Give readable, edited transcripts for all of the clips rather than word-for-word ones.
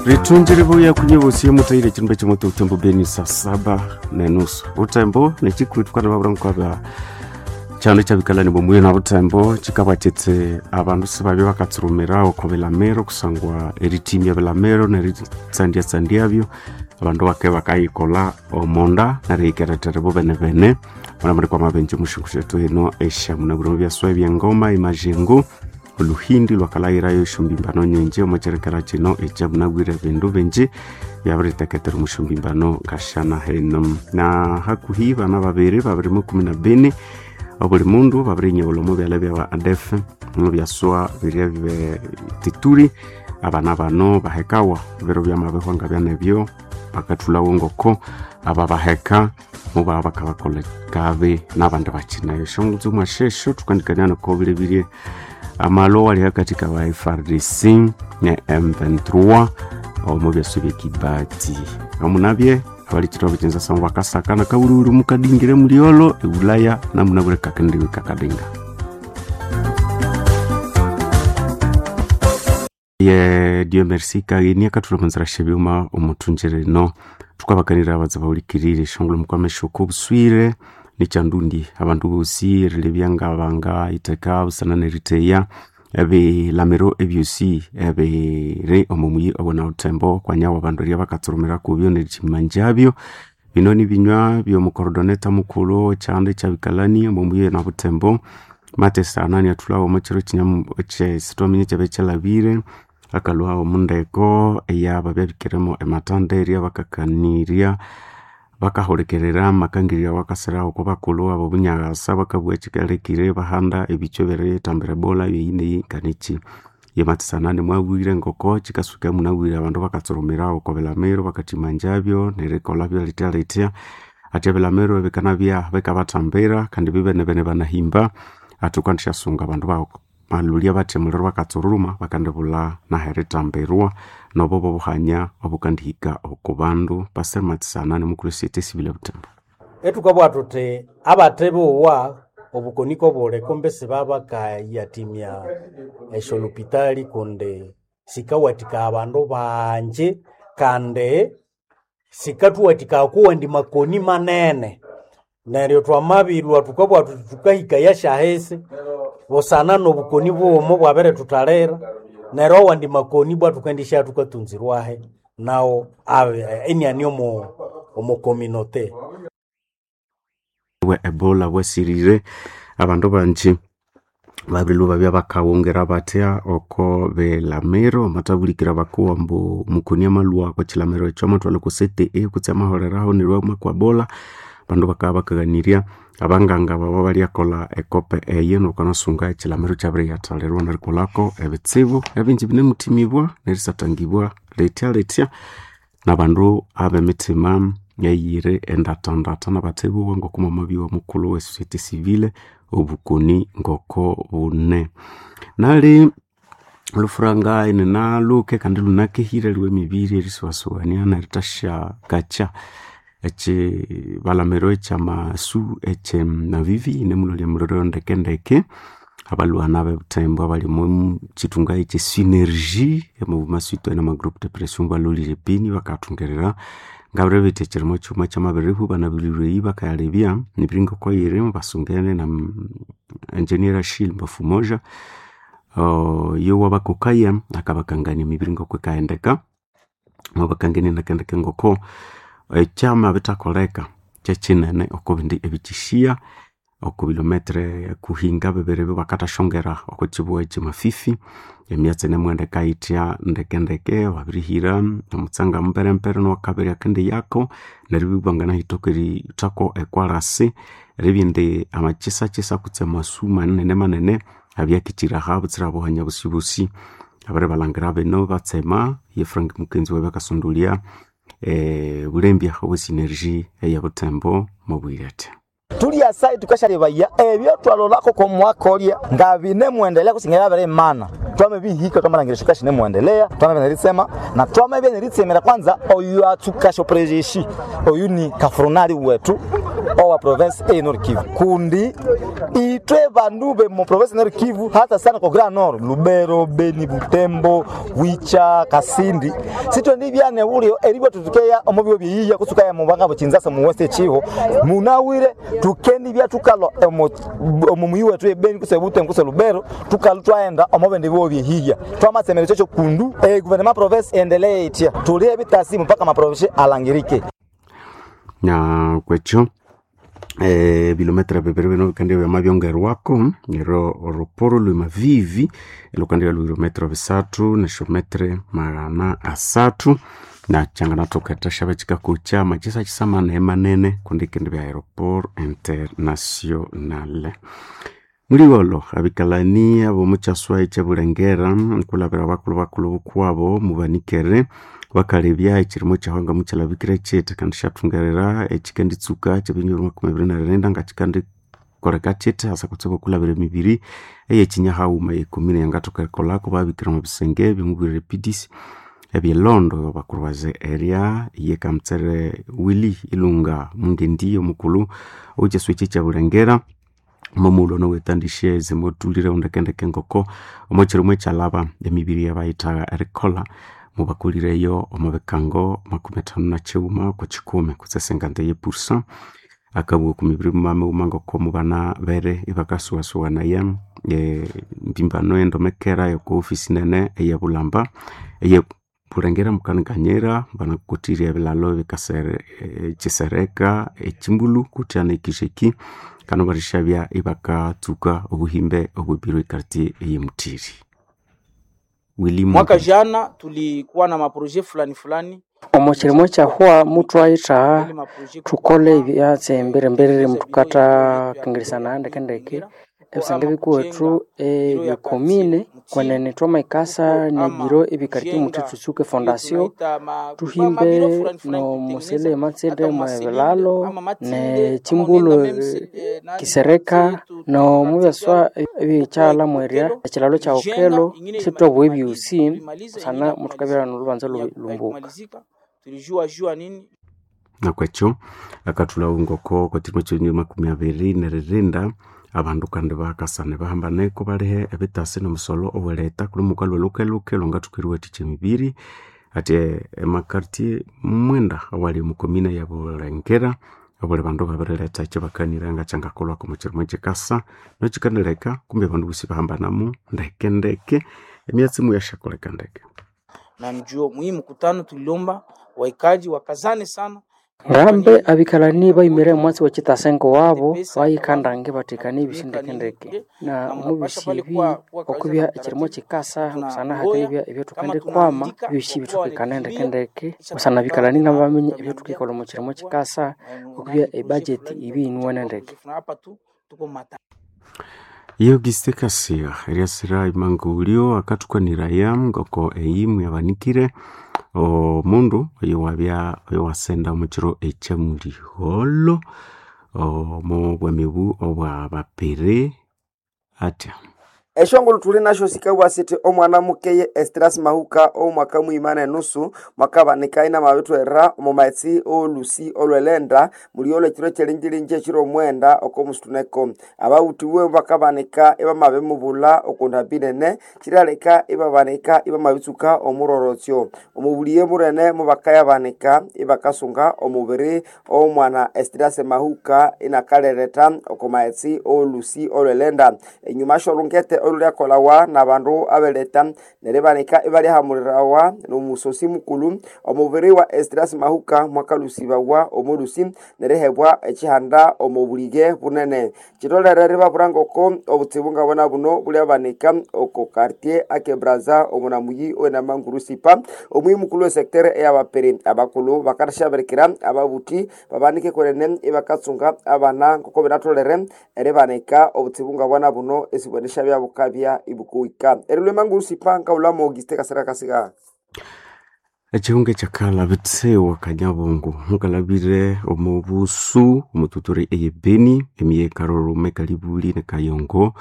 Ritunjire buya kunye bosi mutaire chimbe chimoto utembo beni saa 7:30 utembo nechikuitukana babura kyano kyabikalani bomuyo na butembo kikabaketse abandu sibabya bakatsurumira oko bilamiro kusangwa eritimya bilamiro neritsandyatsandyabyo abandu bake bakayikolha omonda neriyikeretera bo bene bene muna kwa mabenje mushungu shetu eno eshamunabwire byaswa ebyengoma imajengo oluhindi lwakalayirayo eshombimbano nyenje omukyerekera kino ekyamunabwire ebindu bingi byabiriteketera omushombimbano ngashana heno na hakuhi bana babiri babiri mu kumi na bini obuli mundu babirinyewula omu byalya byaba adef mubyaswa biria tituri abana bano bahekawa biro byamabihwa nga byanebyo bakathulawo ngoko aba baheka mubaba bakabakola kabi n'abandi bakinayo shongutsu mwashesho tukandikania noko bilebirie amalo ali hakatika wa FRDC ne M23 omu byaso byekibati omunabye abalikitwa bikinza sangu bakasaka nakawuliwuli mukadingire muliolo eulaya namunabule kakendiwe kakadinga ye Dieu merci kagheni akathula munzira shebyuma omuthunjire no tukabakanira abatsi bawulikirire shongolo mukwamesha obuswire nikyandundi abandu bosi erilebya ngabanga iteka busana neriteya ebilamiro ebyosi ebiri omu muyi obona butembo kwanyawa abandu eria bakatsurumira kubyo nerikyimanjabyo bino nibinywa byomukorodoneta mukulhu ekyanda ekyabikalani omu muyi na butembo matesa anani athulhawo omo kyiro kyesithwaminya ekyabya kyalhabire akalhwa omundeko eyababya ematanda eria bakakanirya bakahulikirira amakangirya awakasirawo oko bakulhu abo bunyaghasa bakabugha kyikalekire bahanda ebikyo ebiritambira ebola byeyi nganiki yemathesana nimwabwire ngoko kyikasuka munabwire abandu bakatsurumira oko bilamiro bakathimanjabyo nerikolha lithya lithya athi ebilamiro bikanabya bikabathambira kandi bibenebene banahimba athi wukandisyasunga abandu balolya bathi emuliro bakatsuruma bakandibulha naherithambirwa nobo bobuhanya obukandihika oko bandu Pastor Mathisana nimukulhu esociety civil ebutembo. Ethukabugha thuthi abathe bowa obukoni kobuli kumbi sibabakayathimya esyolupitali kundi sikawathikaya abandu bangi kandi sikathuwathikaya kuwandi makoni manene neryo twamabilhwa thukabugha thuthi thukahikaya syahisi busana nobukoni bughuma obwabirituthalira neryo awandi makoni ibwa thukendisya thukatunzirwahi nawo iniani omo communauté. Bwe ebola bwasirire abandu bangi babirilhwa babya bakawongera bathya oko bilamiro amathabulikira bakuwa ambu mukoni amalhwa oko kilamiro ekyo amathwalha oko CTE kutse amaholeraho neryo amakwa ebola abandu bakabya bakaghanirya abanganga baba balyakolha ekope eyo nokanasunga ekilamiro kyabiriyathalirwa nerikolhako ebitsibu ebingi binemuthimibwa nerisatangibwa lithya lithya nabandu abemithima eyiri endathandatha nabathebuwa ngoko mwamabyowa mukulhu we society civile obukoni ngoko bune nali olufuranga ininaluke kandi lunakehire lwe emibiri erisuwasuwania nerithasya ekibalamiro ekyamasu ekyemavivi inemulolya muliro ndekendeke abalhwana abebuthembo abali omu kithunga ekye synergie emomasuito nama group de pression balholire ebini bakathungirira ngabiribitha ekyirimo kyuma kyamabirihu banabilirweyi bakayalebya emibiri ngoko yiri basungene na engineer Achille Mbafumoja yowabakokaya akabakangania emibiri ngoko yikaghendeka mwabakangania ndekendeke ngoko ekyama bithakoleka kyekyinene oko bindi ebikyishiya oko bilometre kuhinga bibiri bakathashongera oko kibugha ekyemafifi emyatsi inemughendeka yithya ndekendeke babirihira omutsanga mumperempere nowakabiri akendiyako neryo ibwa banganahithoka erithako ekwalasi eribya indi amakyisakyisa kutse amasu manene manene abyakikyiraha butsira buhanya busibusi abiribalhangira bino batsema ye Frank Mukenzi wabakasondolya bulembya obwe synergie eyabuthembo mubwire athi tulyasa tukashalebaya ebyo twalolako komwaka olya nga binemwendelea kusinga byabirimana twamebihika twamalhangira shuka shinemwendelea twamabya neritsema na twamabya neritsemera kwanza oyu atsukasha oprejeshi oyu ni kafronali wetu owa province e Nord Kivu kundi itwe bandu be mu province Nord Kivu hata sana kwa Grand Nord Lubero Beni Butembo Wicha Kasindi sitwe ndibyane ulio eribwa tutukeya omubyo byiya kusuka ya mubanga buchinzasa mu West Chiho munawire tukendi bya tukalo omu muyi wetu ebeni kuse Butembo kuse Lubero tukalo twaenda omubende byo byihiya twamasemere chocho kundu gouvernement province endelee itia tulie bitasi mpaka maprovince alangirike na kwekyo bilometra bibiri bino bikandi byama byongerwako nero oruporo lwemavivi elukandi lwa bilometra bisathu nesyometre 300 na changanatoketa xava chikakucha machisa chisamana manene kundi kindi bya aeroport international muliwolo abikalani abomukyaswa ekyabulengera nkulabira bakulu bakulu bukwabo mubanikere bakalebya ekirimo kyahwanga mukyalabikira kyete kandi syathungerera ekikenditsuka kyebinyoro 29 nga kikandikoleka kyete hasa kutsibu okulabira emibiri eyekinyahauma yekomine yangathoka erikolako babikira omu bisenge byomubwirire PDC ebyelondo bakurwaze area yekamutsere Willy Ilunga Mungendi omukulhu owekyaswa ekyi ekyabulengera momulo nowetandishe zimotulire undekendeke ngoko omokyirimo ekyalaba emibiri yabayithaga erikolha mubakulireyo omu bikango 59 ku kikumi kutse 51% akabugha oku mibiri mumamighuma ngoko mubana bere ibakasuwasuwanaya mpimbano endomekera yoko ofisi nene eyebulamba eye bulengera mukanikanyira banakutire ebilalo ebikasere ekisereka ekimbulu kutya nekisheki kano barishabya ibakatsuka obuhimbe obwebiro ekartie eyemutiri Willy Mwaka Munga. jana tulikuwa na maproje fulani fulani Omo kirimo kyahwa mutwayithaha ili maproje thukole ebyatsi emberemberere muthukatha kengeresana ndekendeke ebisenge bikuwethu ebyekomine kwenene twamaikasa nebiro ebikartie muthi thutsuke fondasio tuhimbe nomusele matsinde mwebilalo nechimbulu kisereka nomubyaswa ebikyala mwerya ekilalo kya okelo sitwabugha ebyusi busana muthukabya nolhubanza lumbuka. Tulijua jua nini nakwekyo akathulha ngoko kwekirimo kyenyuma 29 abandu kandi bakasana bahambaneko balihe ebitasi nomusolo oweleta kuli mukalwa lukeluke lwangathuka eriwathikya emibiri ati emakartie mwenda awali omukomina ya Bulengera abuli bandu babiriletha ekyo bakanira nga kyangakolhwako omu kirimo ekikasa nokikanileka kumbi abandu bosi bahambanamu ndekendeke emyatsi muyashakoleka ndeke na njuo muhimu mkutano tuliomba waikaji wakazane sana Ngambe abikalani bayimire omwatsi wekitasengo wabo bayikandange bathekanie ebisindekendeke na omubisi ebi okubya ekirimo kikasa busana hakenibya ebyathukendikwama ebyosi bithukikana ndekendeke busana abikalani nabo baminya ebyathukikolha omu kirimo kikasa okubya ebudget ibi yinuwene ndeke. hapa tu tuko mata Auguste Kasia eriasira imangulio akathukaniraya ngoko eyi muyabanikire omundu oyo wabya oyo wasenda omukiro ekyamuliholo omu bwamibu obwa bapere atya Eshongolo tuli nasho sikabwa siti omwana mukeye Estras Mahuka omwaka mwimana enusu mwakabanika ina mabitwera omu maetsi olusi olwelenda muliolo ekiro kyelinjilinji ekiro omwenda okomusituneko abawuthiwe bakabanika ibamabimubula okundambi nene kiryaleka ibabanika ibamabitsuka omurorotsyo omubuliye munene mubakayabanika ibakasunga omubiri omwana Estras Mahuka inakalereta oko maetsi olusi olwelenda enyuma sholungete olulyakolawa nabandu abeleta neribanika ibalyahamulirawa nomusosi mukulu omubiri wa Esdras Mahuka mwakalusibawa omulusi nerihebwa ekihanda omubulige bunene kitolere ribabura ngoko obutsibu ngabona buno bulyabanika oko quartier ake Braza omunamuyi owenamanguru sipa omuyi mukulu wesektere eyabapiri abakulu bakatashabirikira ababuthi babanike kwenene ibakatsunga abana ngoko binatolere eribanika obutsibu ngabona buno esibwenesha byabukabya ibukuwika erilwemanguru sipa nkaulamo Auguste Kasira Kasiga Ekihunga ekyakalha bitsiwa kanyabungu mukalabire omu busu omututuri eyebeni emiye karorome kalibuli ne kayongo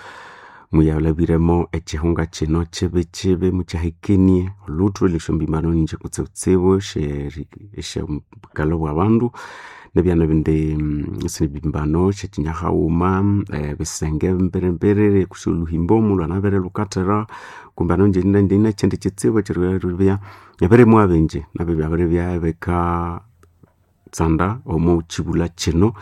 muyalabiremo ekihunga kino kibikibi mukyahekenie oluthu lwesyombimano ninje kutsibutsibu esyobukalo bwa bandu. Nebyana bindi sinibimbano syekinyahaghuma ebisenge mbere kusi oluhimbo mulwanabere lukathera kumbe ano ndina kyindi kitsibu ekyeribya ebirimwa bingi nabyo byabiribya bikatsanda omo kibulha kino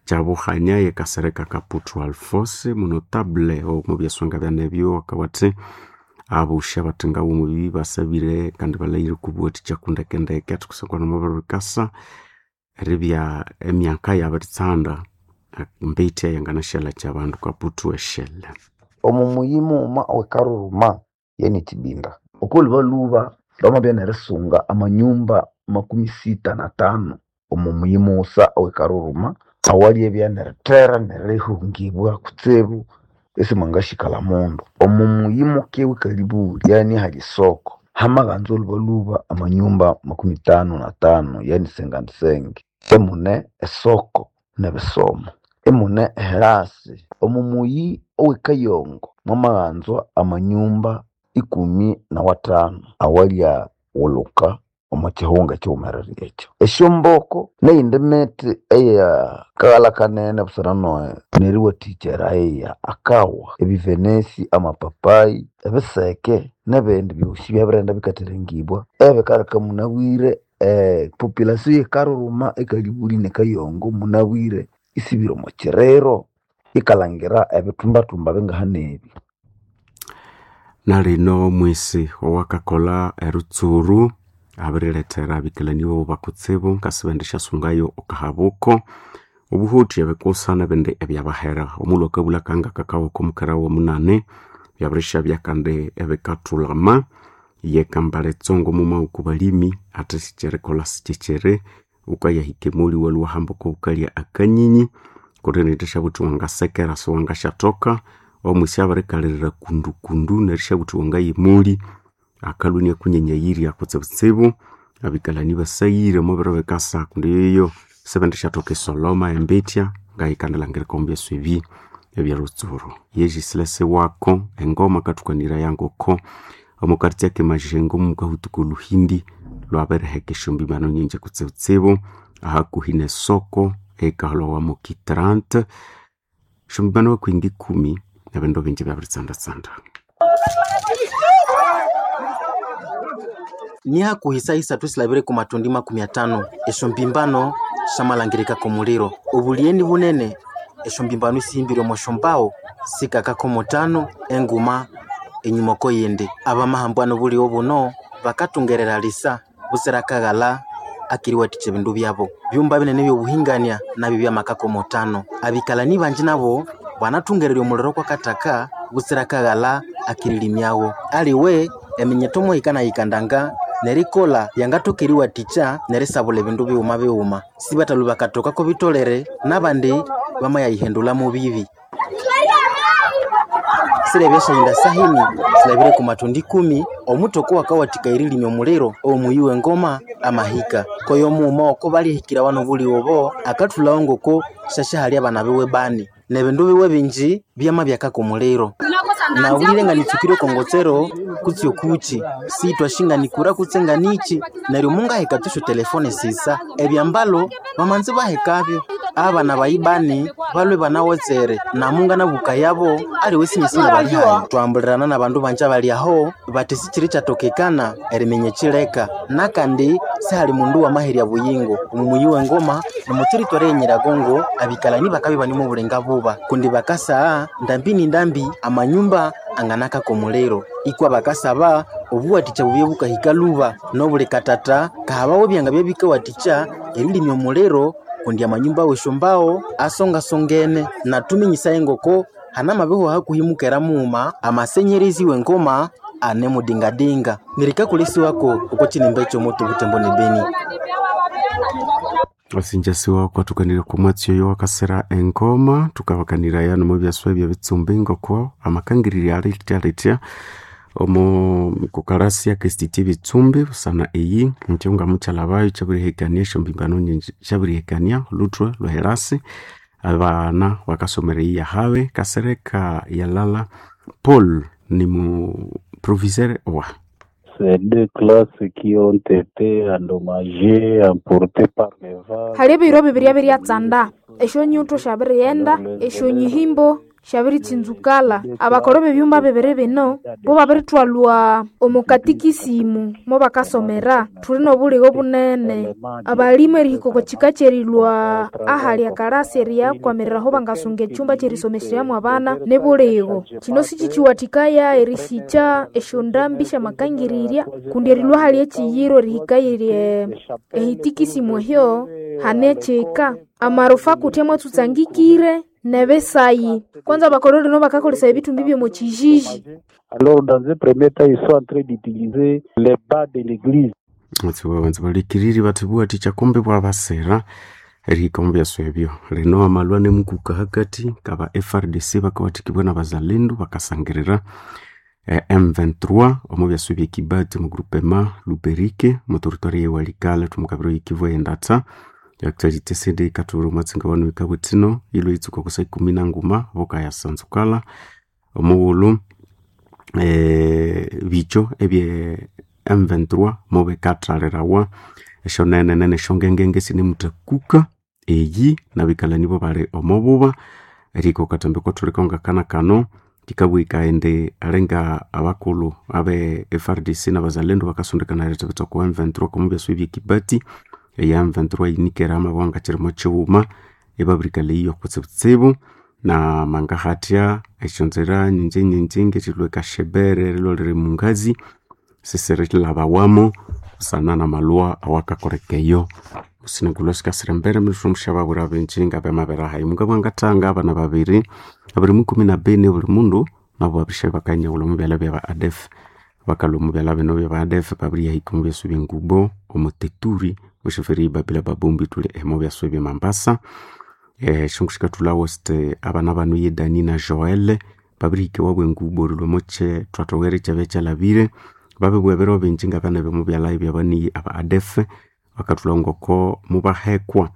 kyabuhanya yekasereka Kaputu Alphonse munotable omo byaswanga byanebyo akawathi abusha bathengawo omubibi basabire kandi balhaghire okubuwathikya kundekendeke athi kusangwa namabirikasa eribya emyaka yabiritsanda mbiti eyanganashalakya abandu Kaputu eshele. Omu muyi mughuma owekaruruma yani kibinda okwolhubalhuba bamabya nerisunga amanyumba 65 omu muyi mughusa owekaruruma awalyabya nerithera nerihungibwa kutsibu isimwangashikalha mundu. Omu muyi muke wekalibuli yani ahali esoko hamaghanza olhubalhuba amanyumba 55 yani 55 emune esoko nebisomo emune eherasi. Omu muyi owekayongo mwamaghanzwa amanyumba 15 awalya ghulhuka omo kihunga ekighumerere ekyo. Esyomboko neyindi miti eyakaghalha kanene busana neriwathikya erayiya akawa, ebivenesi, amapapai, ebiseke nebindi byosi byabirighenda bikatherengibwa ebikaleka munabwire epopulation yekaruruma ekalibuli nekayongo munabwire isibire omo kiriro ikalhangira ebithumbathumba bingahanebi. Nalino omwisi owakakolha erutsuru abirilethera abikalani bobo bakutsibu ngasibendi syasungayo okahabuko obuhuthi ebikusa nebindi ebyabahera. Omulhu akabulha kanga kakawoko omukera womunani byabirishabya kandi ebikathulama yekambala etsongo mumaghuku balimi athi sikyerikolha sikyikyiri wukayahika emoli iwalhwa iwahamba okwabukalya akanyinyi kundi nithisyabuthi wangasekera siwangasyathoka. Omwisi abirikalirira kundukundu nerisyabuthi wangaya emoli akalhwa iniakunyenyayirya kutsibutsibu. Abikalani basaghire omwabiro bikasa kundi yoyo sibendisyathoka esoloma embitya ngayikandilhangirika omu byaswa ebi ebyerutsuru. Yejisilesi wako engoma akathukaniraya yangoko omukaritya kemajengo mukahutuka oluhindi lwabiriheka esyombibano nyingi kutsibutsibu ahakuhi nesoko eyikaholhawa moki 30 esyombibano hakuhi ngikumi ebindu bingi byabiritsanda-tsanda. Ni hakuhi saa isathu silabire ku matundi 50 esyombimbano syamalhangirikako omuliro. Obulyeni bunene esyombimbano isihimbire omo syombawo sikakako mutano enguma enyuma oko yindi. Abamahambwano obuligho buno bakathungerera lisa butsira akaghalha akeriwathikya ebindu byabo. Byumba binene ebyobuhingania nabyo byamakako mutano. Abikalani bangi nabo banathungererya omuliro kwakathaka butsira akaghalha akerilimyagho. Aliwe eminyetho muhikanahikandanga nerikolha yangathoka eriwathikya nerisabulha ebindu bighuma bighuma. Sibathalhwa bakathokako bitolere nabandi bamayayihendulhamu bibi. Sirebya syayinda sahini silabire ku matundi 10 omuthoko wakawathikaya erilimya omuliro omuyi wengoma amahika. Koyo mughuma oko balyahikira wano obuligho obo akathulhawo ngoko syasyahalya abana biwe bani nebindu biwe bingi byamabyakaka omuliro. Nabwire nganitsukire okongotsero kutsi okuki sithwashinganikura kutse nganichi neryo mungaheka tusyo telefone sisa ebyambalo bamanzi bahekabyo abana bayibani balwe banawotsere namunga nabuka yabo aliwe sinyesinya bali hayi. Twambulirana nabandu banje abali aho bati sikyiri kyatokekana eriminya ekyileka nakandi sihali mundu wamaherya buyingo. Omumuyi wengoma nomuteritwari enyiragongo abikalani bakabya ibane omubulenga buba kundi bakasagha ndambi ni ndambi amanyumba anganakaka omuliro ikwa bakasaba obuwathikya bubye bukahika lhuba nobuli katata kahabaho ebyanga byabikawathikya erilimya omuliro kundi amanyumba w'esyombawo asongasongene. Nathuminyisaye ngoko hanamabihwa hakuhi mukera mughuma amasenyerezi w'engoma ane mudingadinga. Nirikakolesiwako oko kinimba ekyomoto Butembo ne Beni. Wasinjasiwa kwathukanire kwa mwatsi oyo wakasira engoma thukabakaniraya nomo byaswa ebyebitsumbi ngoko amakangiriri alithya omo kukalasi akesititi ebitsumbi busana eyi nikyo ngamukyalabayo kyabirihekania esyombimbano nyingi syabirihekania olhuthwe lweherasi abana bakasomera eyi yahabe kasereka yalala Paul ni mu proviseur wa Ces deux classes qui ont été endommagées, emportées par les vagues. Hali ebiro bibiri ebiryatsanda esyonyuto syabirighenda esyonyihimbo syabiritsinzukala. Abakoro b'ebyumba bibiri bino bo babirithwalwa omu katikisimu mo bakasomera. Thuli n'obuligho bunene. Abalimu erihika oko kika kyerilwa ahali ekalasi eriyakwamirira aho bangasunga ekyumba kyerisomeseryamu abana nibuligho. Kino sikikiwathikaya erisikya esyondambi syamakangirirya kundi erilwa ahali ekyiyiro erihika eyiri ehitikisimu ehyo hane ekyika. Amarufa kuthi amwatsutsangikire nebisayi. Kwanza abakoroni lino bakakolesaya ebithumbi by'omu kijiji. Alors, dans un premier temps, ils sont en train d'utiliser les bas de l'église. Banza balikiriri bathibuwathikya kumbi bwabasira erihika omu byaswa ebyo. Lino amalwa nemukuka hakati kaba FARDC bakawathikibwa n'abazalendu bakasangirira M23 omu byaswa ebye Kibati omu groupement Luberike omu territory ye Walikale thumukabiro y'Ikivu ey'endatha. Actuality sindi ikathubwira omwatsi wanu wikabwithino ilwe itsuka kusa 13 bukayasanzukala omughulhu bikyo ebye M23 mubikathalirawa esyonene esyongengenge sinemuthakuka eyi nabikalani bo bali omububa erihika okatambi kwathuliko ngakana kano kikabwika indi alinga abakulhu abe FARDC n'abazalendu bakasondekana erithibitha okwa M23 omu byaswa ebye Kibati eya M23 yinikere amabwanga kirimo kighuma ibabirikalha eyiyo kutsibutsibu na mangahathya esyonzira nyingi nyingi ngerilhwa ekashebere erilhwa liri mungazi sisirilhabawamo busana namalhwa awakakoleka eyo. Musinagulwa sikasira embere muthumusyababwira bingi ngabamabirahayi. Mungabwa ngathanga abana babiri abiri mukumi na bini buli mundu nabo babisha bakanyawulha omu byalha byaba ADF bakalhwa omu byalha bino byaba ADF babiriyahika omu byaswa ebyengubo omu Teturi oshoferi babila babombi thuli emo byaswa ebye Mambasa. Esyongu sikathulhawo siti abana bano ye Dani na Joel babirihika ewabo engubo erilhwa omo kyithwathoghere ekyabya kyalhabire. Babibugha ebiro bingi ngabana b'omu byalha ebyabaniyi aba ADF bakathulha ngoko mubahekwa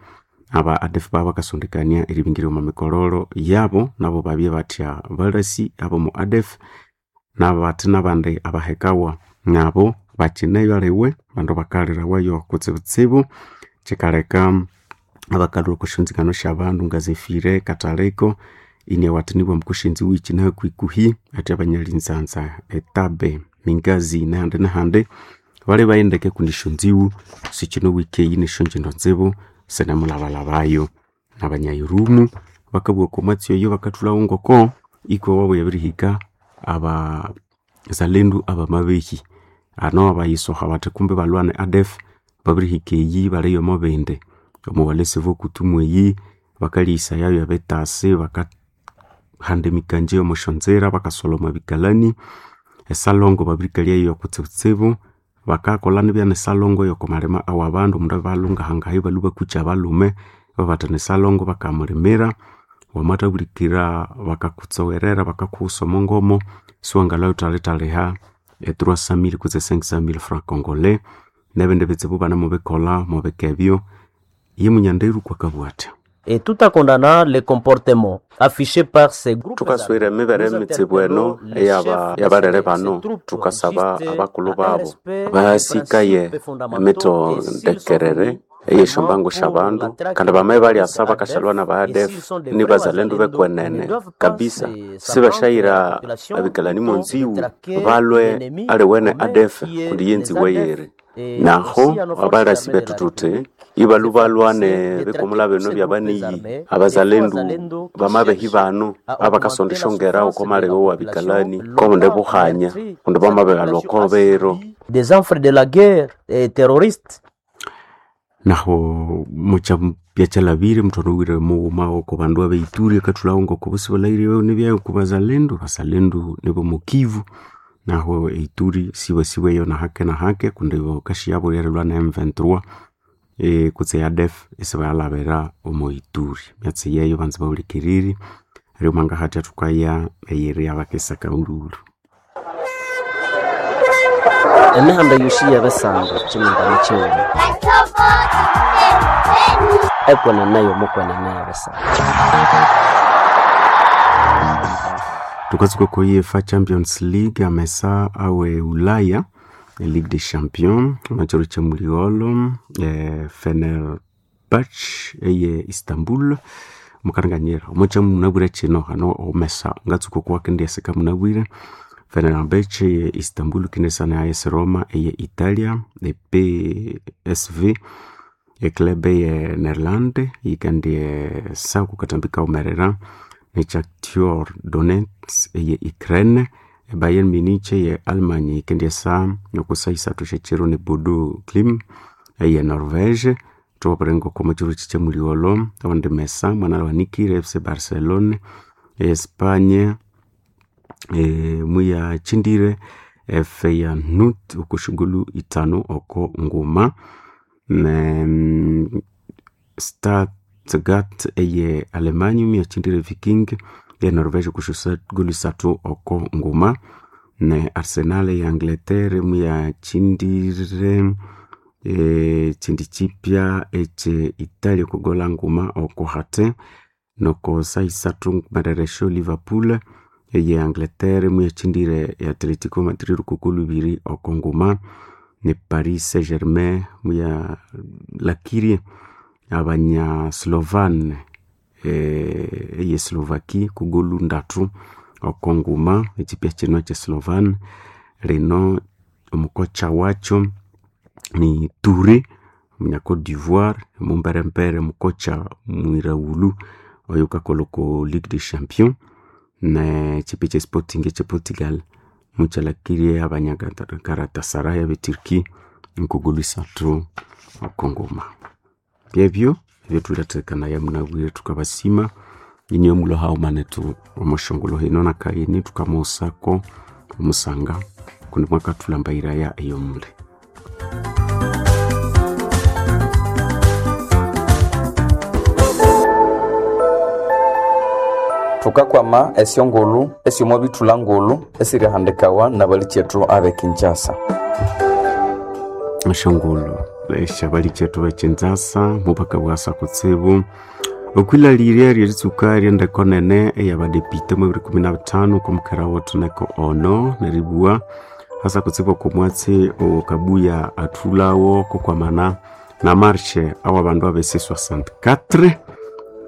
aba ADF baba bakasondekania eribingirya omu mikololo yabo nabo babye bathya balasi abomu ADF nabathi nabandi abahekawa nabo bakineyo aliwe bandu bakalirawayo kutsibutsibu kikaleka abakalhwa oko syonzingano syabandu nga Zefire Kataleko iniawathinibwa mukushinzi wiki nahakuhikuhi athi abanyalinzanza etabe Mingazi nahandi nahandi bali bayendeke kundi esyonziwu sikinowike eyi nesyongindo nzibu sinemulhabalhabayo. Nabanyairumu bakabugha okwa mwatsi oyo bakathulhawo ngoko ikwa wabo yabirihika abazalendu abamabehi ano abayisoha bathi kumbi balhwane ADF babirihika eyi baliyo omo bindi omu walesi bokutumu eyi bakalhisayayo ebitasi bakahanda emikanja omo syonzira bakasolha omwa bikalani esalongo babirikalyayo kutsibutsibu bakakolha nibya nesalongo yokomalima awabandu omundu abalhungahangayo ibalhwa bakukya abalhume ibabathana esalongo bakamulimira wamathabulikira bakakutsowerera bakakuhusa omo siwangalhwa ghuthalithaliha e 300,000 kutse 500,000 francs congolais nebindi bitsibu banamubikolha mubika ebyo. Ye munyanderu kwakabugha athya. Et tout en condamnant les comportements affichés par ces groupes Thukaswira emibere emitsibu eno eyabalere bano thukasaba abakulhu babo basikaye emitondekerere eyesyombangu syabandu kandi bamaye balyasa bakashalhwa naba ADF nibazalendu bekwenene kabisa sibasyayira abikalani monziwu balwe aliwene ADF kundi yenziwe yeri naho abalasi bethu thuthi ibalhu balwane bikumula bino byabaniyi abazalendu bamabehi bano abakasonda esyongera oko malebe wa bikalani kobundi buhanya kundi bamabeghalha oko biro des enfants de la guerre et terroristes. Naho mukyabya kyalhabire muthwanowire mughuma oko bandu abeituri akathulhawo ngoko bosi balhaghire nibyayo oko bazalendu bazalendu nibomu Kivu naho eituri sibasibweyo nahake nahake kundi bakasiyabo erilhwa ne M23 kutse ADF isibayalhabira omo Ituri. Myatsi yeyo banza bahulikiriri neryo mwangahathya thukaya eyiri abakesa kahululu. Emihanda yosi yebisando kyimingano kyighuma ekwenene yomukwenene yebisando. Thukatsuka oko UEFA Champions League amesa awe Ulaya Ligue des Champions omwakiro kyemuligholo Fenerbahce eye Istanbul mukalenganyira omwakya munabwire kino hano omesa ngatsuka okuwakendyaseka munabwire Fenerbahce eye Istanbul kindisana AS Roma eye Italia e PSV eclub eye Netherland yikandyesa okukathambi kawumerera ne Shakhtar Donetsk eye Ukraine e Bayern Munich eye Almany yikendyesa okusa isathu syekyiro ne Bodo Glimt eye Norvege thubabwira ngoko omwakiro kyemuligholo awandi mesa mwanalhawanikire FC Barcelona eye Espanya muyakyindire Feyenoord okosyogolu ithanu oko nguma ne Stuttgart eye Alemany muyakyindire Viking eye Norvege okosyogolu isathu oko nguma ne Arsenal eye Angleterre muyakyindire ekyindi kyipya ekye Italia okogola nguma oko hate noko saha isathu nkumerere esyo Liverpool eye Angleterre muyakyindire Atletico Madrid okogolu ibiri oko nguma ne Paris Saint Germain muyalhakirie abanya Slovan eye Slovakia kogolu ndathu oko nguma ekyipya kino ekye Slovan lino omukocha wakyo ni Touré omunya Cote d'Ivoire omumberembere mukocha mwiraghulhu oyukakolha oko Ligue des Champions nekyipya ekye Sporting ekye Portugal mukyalhakirie abanya Galatasaray abe Turkey nkogolu isathu oko nguma. Byebyo ebyathulethakanaya munabwire thukabasima inywe mulwe haghuma nethu omusyongulho hino nakayini thukamughusako omusanga kundi mwakathulhambayiraya eyomuli. Thukakwama esyongulhu esyomo bithulha ngulhu esirihandikawa nabalikyetu abe Kinshasa. Esyongulhu esyabalikyetu bekinzasa mubakabwasa kutsibu okwilhalirya lyeritsuka lyendeko nene eyabadepite mu 2015 okwamukera wethu neko ono neribugha hasa kutsibu okwamwatsi owokabuya athulhawo kokwamana na marshe awabandu abe C64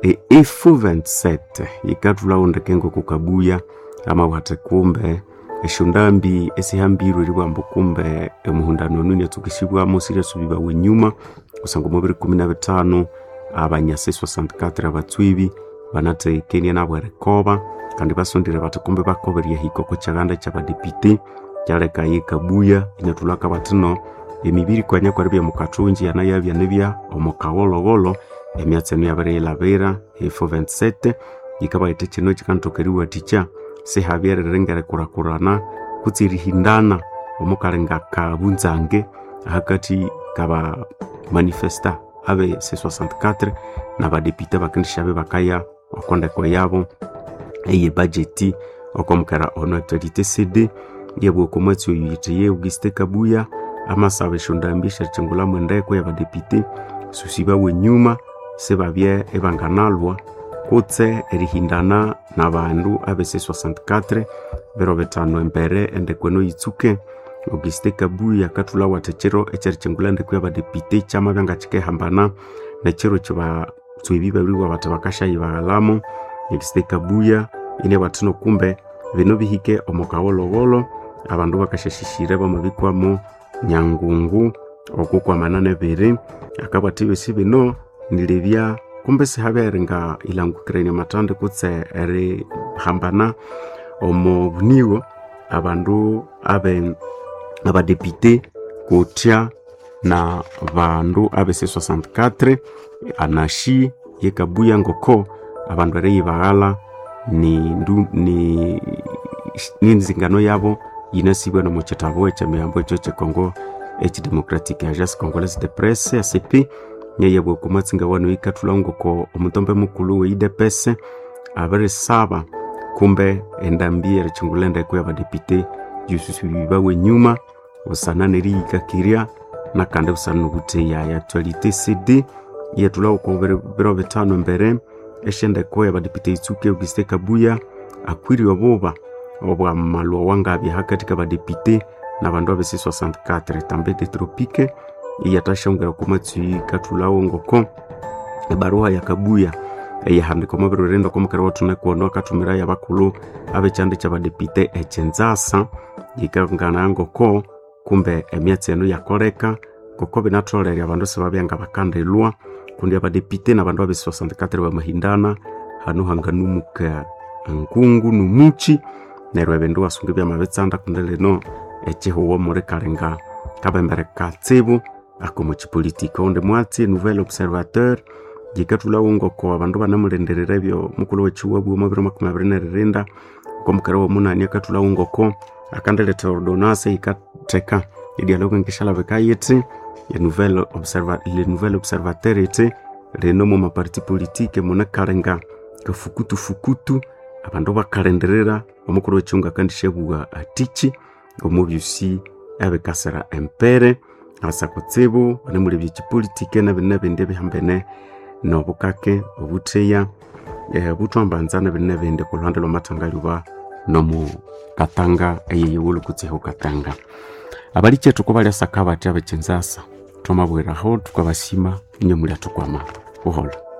e F27 yikathulhawo ndeke ngokukabuya amabwatha kumbe esyondambi esihambirwe eribugha ambu kumbe omuhundano onu inyatsukisibwamu siryasubibawa enyuma kusangwa omu 2015 abanya C64 abatswibi banathekenie nabo erikoba kandi basondire bathi kumbe bakoba eryahika oko kyaghanda kyabadepite kyaleka yikabuya inyathulhako bathi no emibiri kwanya kweribya mukathungi yanayabya nibya omukawolowolo emyatsi eno yabiriyilhabira F27 yikabayitha kino kyikanathoka eriwathikya sihabye eriringa erikurakurana kutse erihindana omukalinga kabunzange ahakathi kaba manifesta abe C64 nabadepite abakendisyabe bakaya okondeko yabo eye budget okwamukera ono actualité CD yabugha okwamwatsi oyu yithiye Auguste Kabuya amasaba esyondambi esyerikyingulhamu endeko yabadepite susibawa enyuma sibabye ibanganalwa kutse erihindana nabandu abe C64 biro bithanu embere endeko eno yitsuke. Auguste Kabuya akathulhawo athi ekyiro ekyerikyingulha endeko yabadepite kyamabya ngakyikihambana nekyiro kyabatswebi babiribugha bathi bakasyayibaghalhamu. Auguste Kabuya inabugha athi no kumbe bino bihike omo kawolowolo abandu bakasyasyisyira bamabikwamo nyangungu okukwamana nebiri akabugha athi ebyosi bino nilebya kumbe sihabya eringa ilhangukirania amathandi kutse erihambana omo bunigo abandu abe abadepite kutya na bandu abe C64 anashi yekabuya ngoko abandu eriyibaghala ni ndu ni ninzingano yabo yinasibwa nomu kyitabu ekyemiyambo ekyo kyekongo ekidemocratic Agence Congolaise de Presse ACP nyeyabwa okwamwatsi wano yikathulha ngoko omutombe mukulhu we UDPS abirisaba kumbe endambi erikyingulha endeko yabadepite yususubibawa enyuma busana neriyikakirya nakandi busana nobutheya ya actualité CD yethulha oko biro bithanu embere esyendeko yabadepite yitsuke Auguste Kabuya akwire obuba obwamalwa wangabya hakathi kabadepite nabandu abesi 64 tambete tropique iyatashongera kumatsui kathulawo ngoko ebaruha yakabuya eyahandika omubiri okomukere wathune kuono akathumira yabakulhu abekyanda kyabadepite ekyenzasa yikangana ngoko kumbe emyatsi eno yakoleka ngoko binatholere abandu sibabya bakandilwa kundi abadepite nabandu abe 64 bamahindana hanu hanganumuka nkungu numuchi neryo ebindu wasunga byamabitsanda kundi lino ekihuwo muli kalinga kabembere katsibu akomo kipolitika undi mwatsi nouvel observateur yikathulhawo ngoko abandu banamulindirira ebyo mukulhu wekiwabwa omo 2027 okomukere womunani akathulhawo ngoko akandiletha ordonance yikatheka edialogue nkishalabika yithi le nouvel observateur ithi lino mu maparti politique munekalinga kafukutufukutu abandu bakalindirira omukulhu wekiwunga akandishabugha atichi omu byosi ebikasira empere asa kutsibu banemulebya ekipolitike nebindi ebihambene nobukake obutheya buthwambanza nebindi nebindi kulhande lwamatanga lyuba nomu katanga eyeyiwulu kutsihu katanga abalikyetu kubalyasaka bathi abekyenzasa twamabwiraho tukabasima inye mulya tukwama buholo.